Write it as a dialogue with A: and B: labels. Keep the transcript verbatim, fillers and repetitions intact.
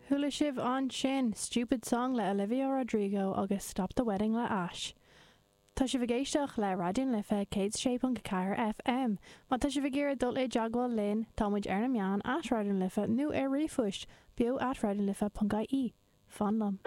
A: Chuala sibh ansin Stupid Song le Olivia Rodrigo agus Stop the Wedding le Ash. Tá sibh ag éisteacht le Raidió na Life céad sé ponc ceathair FM. Má tá sibh ag iarraidh dul i dteagmháil linn táimid ar na meáin at Raidió na Life nó ar ríomhphost beo at raidionlife.ie. Fan liom.